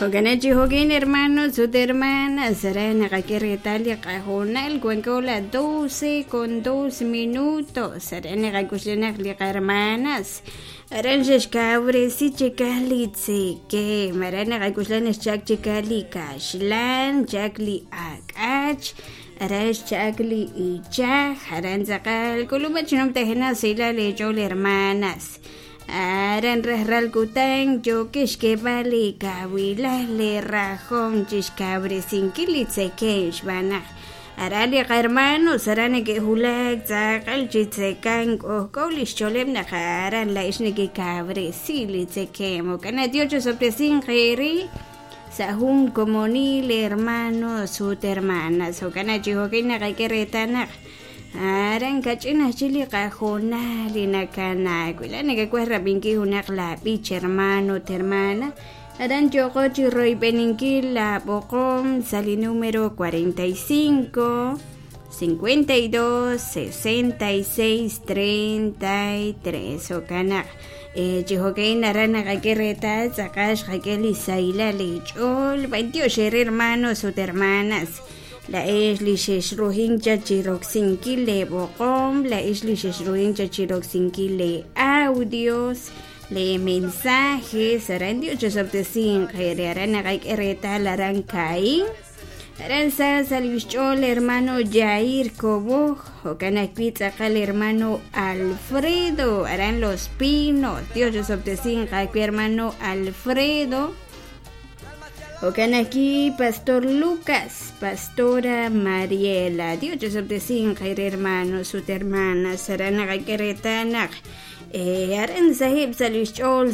Jo'kan chi jo'kin hermanos ut hermanas re naqak'e reetal li qahoonal wanko la 12 con 2 minutos re naqak'uxla naq li qahermanas aran xexkawresi chikaj li tzekemq aran naqak'uxla naq xchak chikaj li kaxlan chak li ak'ach aran xchak li ichaj aran tz'aqal k'ulub'ej chi numtajenaq sahilal eech'ool hermanas Aran rajlal kutan yookex xk'eeb'al li kawilal lee rajom chixkawresinkil li tzekemq xb'aan naq aran li qahermanos aran neke'wulak tz'aqal chi tzekank k'ojk'o li xch'ooleb' naq aran laa'ex nekekawresi li tzekemq. Jo'kan naq Dios chisob'tesinq eere sa' jun komonil hermanos ut hermanas. Jo'kan naq chi jo'kan naqak'e reetal naq Aran kach'in aj chik li qahoonal li nakanaak wi'. Laa'in nakawaj rab'inkil junaq laab'ich hermano ut hermana. Aran yooqo chi royb'eninkil laab'oqom sa' li número 45 52 66 33. Jo'kan naq chi jo'ka'in aran naqak'e reetal tz'aqal xqak'e li sahilal eech'ool. B'antiox eere hermanos ut hermanas. Laa'ex li xexruhink chaq chi roksinkil leeb'oqom, laa'ex li xexruhink chaq chi roksinkil lee audios, lee mensajes, aran Dios chesob'tesinq eere, aran naqak'e reetal aran Caín, aran sa sa' li xch'ool hermano Jair Koboj, jo'kan ajwi' tz'aqal hermano Alfredo, aran Los Pinos, Dios chesob'tesinq aawe hermano Alfredo. Jo'kan ajwi' Pastor Lucas, Pastora Mariela. Dios chesob'tesinq eere hermanos ut hermanas. Aran naqak'e reetal naq aran saheb' sa' li xch'ool.